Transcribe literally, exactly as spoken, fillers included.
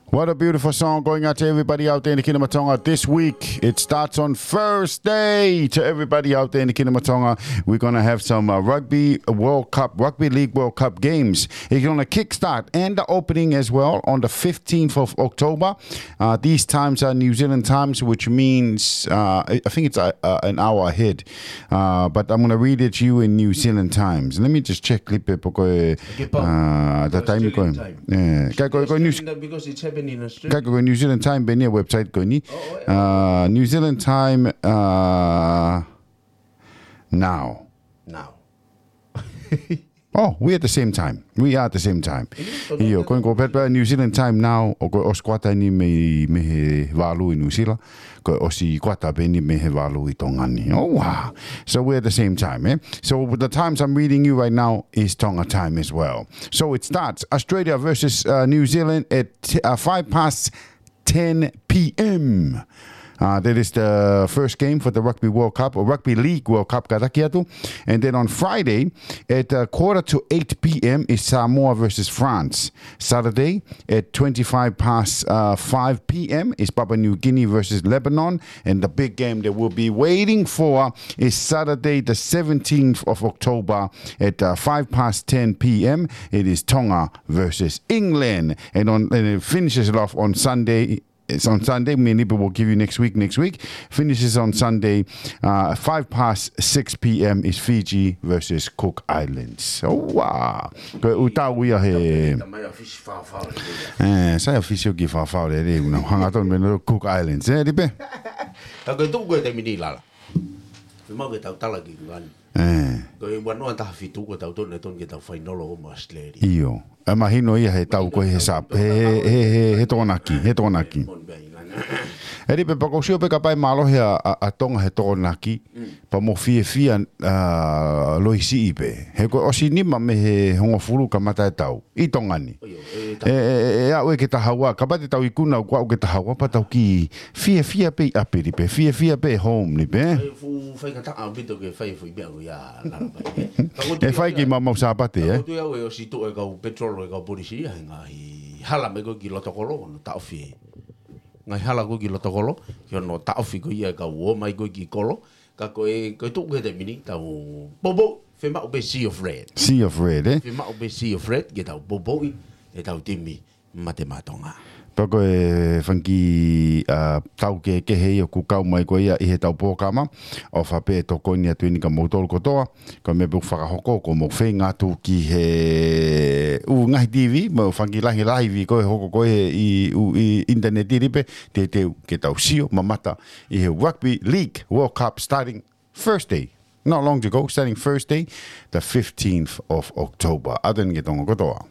What a beautiful song going out to everybody out there in the Kingdom of Tonga this week. It starts on Thursday. To everybody out there in the Kingdom of Tonga, we're going to have some uh, Rugby World Cup, Rugby League World Cup games. It's going to kickstart and the opening as well on the fifteenth of October. Uh, these times are New Zealand times, which means uh, I I think it's uh, uh, an hour ahead. Uh, but I'm going to read it to you in New Zealand times. Let me just check lipe poko e, Ke pau. uh, the Ko time ko. Australian time. Eh, kai ko, ko New, Australian time because it's happening in Australia. kai ko New Zealand time pē eni e website ko eni. Oh, oh, Uh, New Zealand time uh, now. Now. Oh, we at the same time. We are at the same time. Io, ko ko pē pē New Zealand time now, ʻo ko e ʻosi kuata eni mei, mei he valu ʻi New Zealand. Ko e ʻosi kuata pē eni mei he valu ʻi Tonga ni. Oh, wow. So we're at the same time, eh? So the times I'm reading you right now is Tonga time as well. So it starts Australia versus uh, New Zealand at uh, five past ten p.m. Uh, that is the first game for the Rugby World Cup, or Rugby League World Cup, kātaki atu. And then on Friday, at uh, quarter to eight p.m. is Samoa versus France. Saturday, at twenty-five past uh, five p.m. is Papua New Guinea versus Lebanon. And the big game that we'll be waiting for is Saturday, the seventeenth of October, at uh, five past ten p.m. It is Tonga versus England. And, on, and it finishes it off on Sunday. It's on Sunday. Me and Nipa will give you next week. Next week finishes on Sunday. Uh, five past six p.m. is Fiji versus Cook Islands. Oh, wow. Ko e ʻū tau ia he. Tamai a fisi fafau. Eh, sai a fisi ʻoku fafau le le una. Hanga tonu me no Cook Islands. Eh, Nipa. Ka ko e tuʻu ko e taimi ni Lala. Fiemaʻu ke tau tala ki ngani. Eh. Ko e ua noa taha fitu ko tau tonu tonu ke tau fainolo mo Australia. Io. E mahino ia he tau ko he sap. He, he, he, he, he Tokonaki. He Tokonaki. Mon bai ngana. Eli pē pea ʻoku ou sio pē kapau ʻe mālohi ʻa, ʻa, ʻa Tonga he Tokonaki. Pea mo fiefia uh, loisi pē. He ko e ʻosi nima mei he hongofulu kamata e tau. ʻI Tonga ni. Io, e E, e, e, e aʻu ē ke taha ua. Kapau te tau ikuna ʻoku aʻu ke taha ua. Pea tau kiʻi fiefia pē ʻi ʻapi Nipa. Fiefia pē home Nipa. E fu fai ka taʻa bito ke fai fu i mea ko ia Lala bai. E fai ki mau mau Sāpate, eh? Ko tu au e ʻosi tuʻu e kau petrol e kau polisi ia he ngaahi hala mai ko ki loto kolo no taʻofi. Ngaahi hala ko ki loto kolo, ki ono taʻofi ko ia e kau o mai ko ki kolo, ka ko e, ko e tuʻu ko e taimi ni, tau popo, fiemaʻu pē Sea of Red. Sea of Red, eh? Fiemaʻu pē Sea of Red, ke tau popo ʻi, e tau timi, mate matonga. Pea ko e fanga kiʻi uh, tau kehekehe ia ʻoku kau mai ko ia ʻi he tau pōkama, ʻofa pē tokoni atu eni kia moutolu kotoa, ko e meʻa pē ʻoku fakahoko ko mou feinga atu ki he ʻū ngaahi T V, mo fanga kiʻi lahi laivi ko e hoko ko e ʻi ʻū ʻi internet ʻi Nipa, te te ke tau sio, mamata, ʻi he Rugby League World Cup starting Thursday. Not long to go, starting Thursday, the fifteenth of October. ʻAteni ke Tonga kotoa.